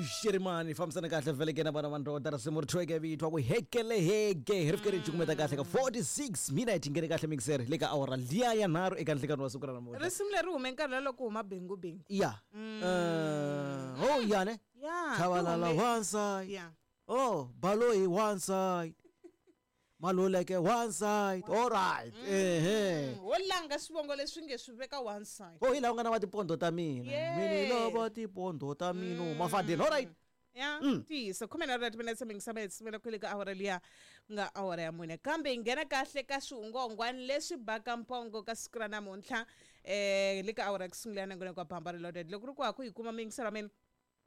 Shirimani fambisana kahle vhele ke na vana va ndoda risimu ri thweke vitwa ku hekele heke hi ri fike ri cukumeta kahle ka 46 minute ngene kahle mixer le ka awara liya ya nharhu eka nhlikani wa siku ra namuntlha. Risimu leri hume nkarhi la loko huma Bengu Bengu. Ya. Oh ya ne. Ya. Chabalala one side. Ya. Oh, Baloyi one side. Maluleke one side. All right. Ehe. Wo langa swivongo leswi nge swi veka one side. Oh, hi laha u nga na va tipondo ta mina. Yes. Mina lava tipondo ta mina. Mafadeni. All right. Ya, ntiyiso 13 timinetse mingisama sivela kwele ka awara liya ku nga awara ya mune, kambe hi nghena kahle ka swihungwahungwani leswi baka mpongo ka siku ra namuntlha le ka awara ya ku sungula ya nongonoko wa Bamba Reloaded. Loko ri ku ha ku hi kuma mingiselo wa mina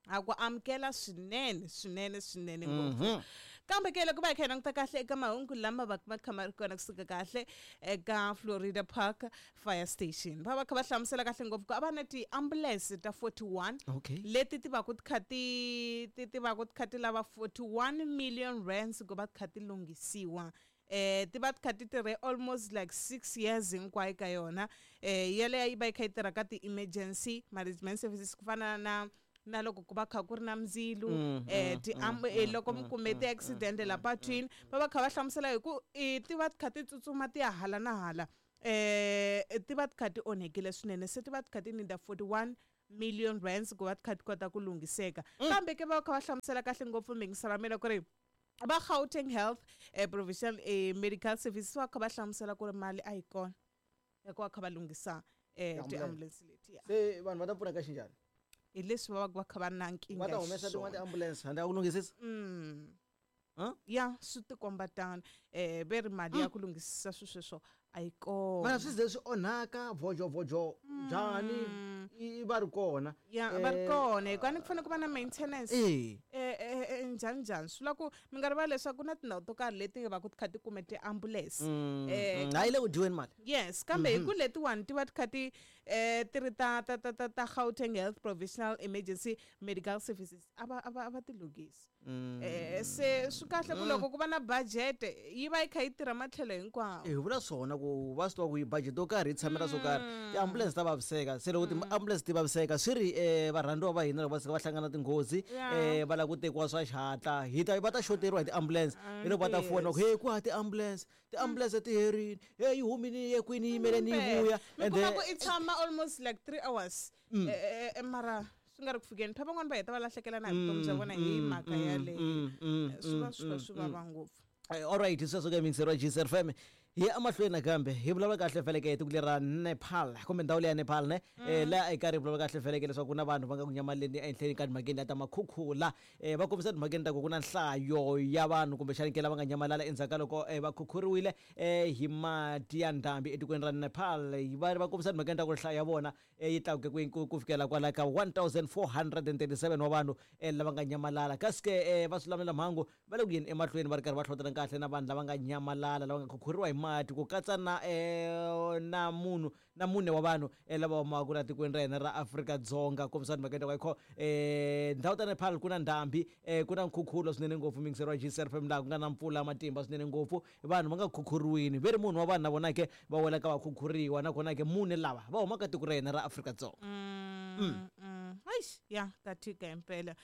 a ku amukela swinene swinene swinene ngopfu, kambe ke loko va hi kha hi languta kahle eka mahungu lama va ma kha ma ri kona kusuka kahle eka Florida Park Fire Station, va va kha va hlamusela kahle ngopfu ku a va na ti-ambulance ta 41 leti ti va ku ti kha ti ti ti va ku ti kha ti lava 41 million rands ku va ti kha ti lunghisiwa. Ti va ti kha ti tirhe almost like 6 years hinkwayo ka yona. Yeleyo yi va yi kha yi tirha ka ti-emergency management services ku fana na loko ku va kha ku ri na ndzilo, ti loko mi kume ti-accident la patwini, va va kha va hlamusela hi ku ti va ti kha ti tsutsuma ti ya hala na hala, ti va ti kha ti onhekile swinene, se ti va ti kha ti need 41 million rands ku va ti kha ti kota ku lunghiseka. Kambe ke va kha va hlamusela kahle ngopfu mingisela mina ku ri va Gauteng Health Provincial Medical Services va kha va hlamusela ku ri mali a yi kona ya ku va kha va lunghisa ti-ambulance letiya. Se vanhu va ta pfuna ka xinjhani? Hi leswi va va kha va na nkingha Va ta humesa tin'wana ti-ambulance handle ka ku lunghisisa? Ya, swi tikomba tano. Ve ri mali ya ku lunghisisa swilo sweswo a yi kona. Mara swi ze swi onhaka vojo vojo njhani i va ri kona? Ya, va ri kona hikuva ni ku fanele ku va na maintenance. Njhani njhani swi vula ku mi nga rivali leswaku ku na tindhawu to karhi leti va ku ti kha ti kume ti-ambulance. A yi le ku dyiweni mali. Yes, kambe hi ku letiwani ti va ti kha ti ti ri ta ta ta ta ta Gauteng Health Provisional Emergency Medical Services a va a va a va ti lunghisi. Se swi kahle ku loko ku va na budget yi va yi kha yi tirha matlhelo hinkwawo. Hi vula swona ku va swi tiva ku yi budget yo karhi yi tshamela swo karhi, ti-ambulance ta vaviseka. Se loko ti-ambulance ti vaviseka swi ri varhandziwa va hina loko va suka va hlangana tinghozi, va lava ku tekiwa swa xihatla, hi ta va ta xoteriwa hi ti-ambulance. Hi loko va ta fona ku hey, ku ha ti-ambulance, ti-ambulance ti herini, hey, yi humini yi ye kwini, yi yimele ni yi vuya. Mi kuma ku i tshama almost like 3 hours mara swi nga ri ku fikeni. Phela van'wani va heta va lahlekela na hi vutomi bya vona hi mhaka yaleyo. Swi va swi kha swi vava ngopfu. All right, sweswo ke mingiseri wa GCR FM hi ya emahlweni nakambe hi vulavula kahle feleke hi tiko leri ra Nepal kumbe ndhawu leya Nepal ne. Laha eka ri vulavula kahle feleke leswaku ku na vanhu va nga ku nyamaleni ehenhleni ka timhakeni ta makhukhula. Va kombisa timhakeni ta ku ku na nhlayo ya vanhu kumbexani ke lava nga nyamalala endzhaku ka loko va khukhuriwile hi mati ya ndhambi etikweni ra Nepal. Va va kombisa timhakeni ta ku nhlayo ya vona yi tlakuke ku fikela kwala ka 1437 wa vanhu lava nga nyamalala. Kasi ke va swi mhangu va le ku yeni emahlweni va ri karhi va hlotela kahle na vanhu lava nga nyamalala lava nga khukhuriwa hi mati ku katsa na na munhu na mune wa vanhu lava humaka la tikweni ra hina ra Afrika-Dzonga. Kombisa timhaka ta ku ndhawu ta Nepal ku na ndhambi, ku na nkhukhulo swinene ngopfu mingiseri wa GCR FM laha ku nga na mpfula matimba swinene ngopfu, vanhu va nga khukhuriwini ve ri munhu wa vanhu na vona ke va wela ka va khukhuriwa, nakona ke mune lava va humaka tiko ra hina ra Afrika-Dzonga. Eish, ya ka tika himpela.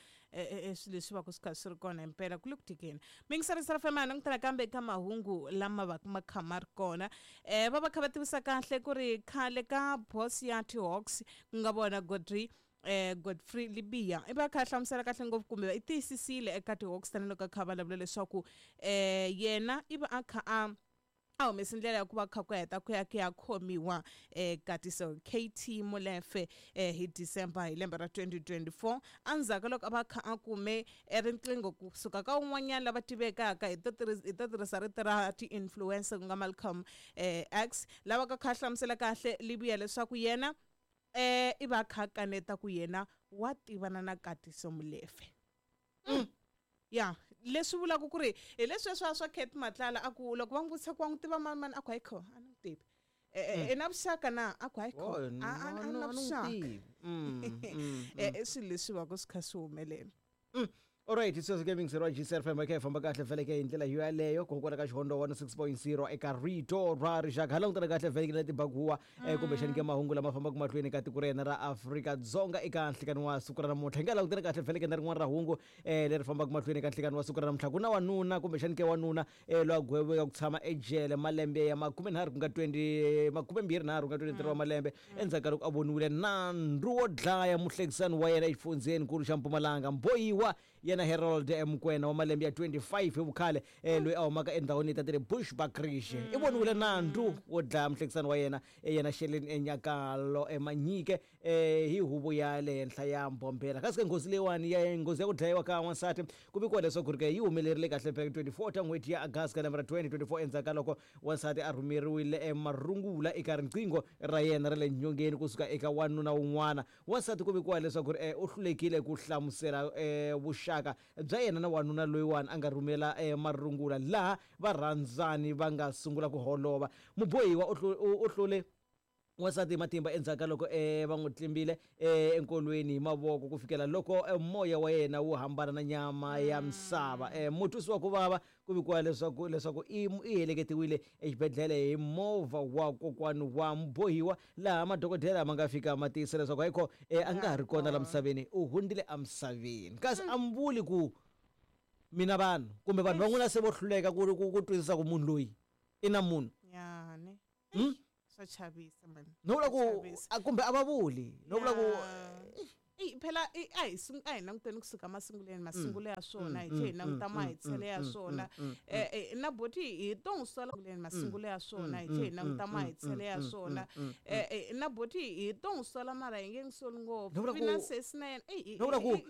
Swilo leswi va ku swi kha swi ri kona himpela ku le ku tikeni. Mingisarisa FM a langutela kambe ka mahungu lama va ma kha ma ri kona. Va va kha va tivisa kahle ku ri khale ka boss ya T-Hawks ku nga vona Godfrey Godfrey Libya i va kha hlamusela kahle ngopfu kumbe i tiyisisile eka T-Hawks tanihiloko a kha vulavula leswaku yena i va a kha a humese ndlela ya ku va kha ku heta ku ya ku ya khomiwa Katiso KT Molefe hi December hi lembe ra 2024 endzhaku loko a va kha a kume riqingho kusuka ka un'wanyana lava tivekaka hi to tirhisa rito ra ti-influencer ku nga Malcolm X lava ka kha hlamusela kahle Libya leswaku yena i va kha kaneta ku yena wa tivana na Katiso Molefe. Ya, leswi vulaka ku ri hi leswi swa swa Cat Matlala a ku loko va n'wi vutisa ku wa n'wi tiva mani mani a ku hayi kho a ni n'wi tivi. I na vuxaka na a ku hayi kho a na vuxaka. I swilo leswi va ku swi kha swi humelela. Alright, sweswo ke mingiseri wa GCR FM, kha hi famba kahle vhele ke hi ndlela yo yaleyo kokwala ka Xihondo 106.0 eka Rito ra Rixaka. Ha langutana kahle vhele ke na tibaguwa kumbexani ke mahungu lama fambaka mahlweni ka tiko ra hina ra Afrika-Dzonga eka nhlikani wa siku ra namuntlha. Hi nga langutana kahle vhele ke na rin'wana ra hungu leri fambaka mahlweni eka nhlikani wa siku ra namuntlha. Ku na wanuna kumbexani ke wanuna loyi a gweviweke ku tshama ejele malembe ya 30 ku nga 20 23 ku nga 23 wa malembe endzhaku ka loko a voniwile nandzu wo dlaya muhlekisani wa yena exifundzheni-nkulu xa Mpumalanga. Mbohiwa yena Harold Mokoena wa malembe ya 25 hi vukhale loyi a humaka endhawini ta le Bushbuckridge i voniwile nandzu wo dlaya muhlekisani wa yena yena Shelin Enyakalo Manyike hi huvo ya le henhla ya Mbombela. Kasi ke nghozi leyiwani ya nghozi ya ku dlayiwa ka wansati ku vikiwa leswaku ri ke yi humelerile kahle phela 24 ta n'hweti ya August ka lembe ra 2024 endzhaku ka loko wansati a rhumeriwile marungula eka riqingho ra yena ra le nyongeni kusuka eka wanuna wun'wana. Wansati ku vikiwa leswaku ri u hlulekile ku hlamusela vuxaka bya yena na wanuna loyiwani a nga rhumela marungula, laha varhandzani va nga sungula ku holova. Mubohiwa u hlule wansati hi matimba endzhaku ka loko va n'wi tlimbile enkolweni hi mavoko ku fikela loko moya wa yena wu hambana na nyama ya misava. Mutwisi wa ku vava ku vikiwa leswaku i heleketiwile exibedhlele hi movha wa kokwani wa mubohiwa, laha madokodela ma nga fika ma tiyisa leswaku hayikho a nga ha ri kona la misaveni, u hundzile emisaveni. Kasi a mi vuli ku mina vanhu kumbe vanhu van'wana se vo hluleka ku twisisa ku munhu loyi i na munhu. Yani. Swa chavisa man. No vula ku Swa chavisa. Kumbe a va vuli no vula ku Phela a hi languteni kusuka masunguleni, masungulo ya swona hi tlhe hi languta mahetsele ya swona. Na boti hi to n'wi sola masungulo ya swona hi tlhe hi languta mahetsele ya swona. Na boti hi to n'wi sola mara hi nge n'wi soli ngopfu. No vula Vi na sesi na yena. No vula ku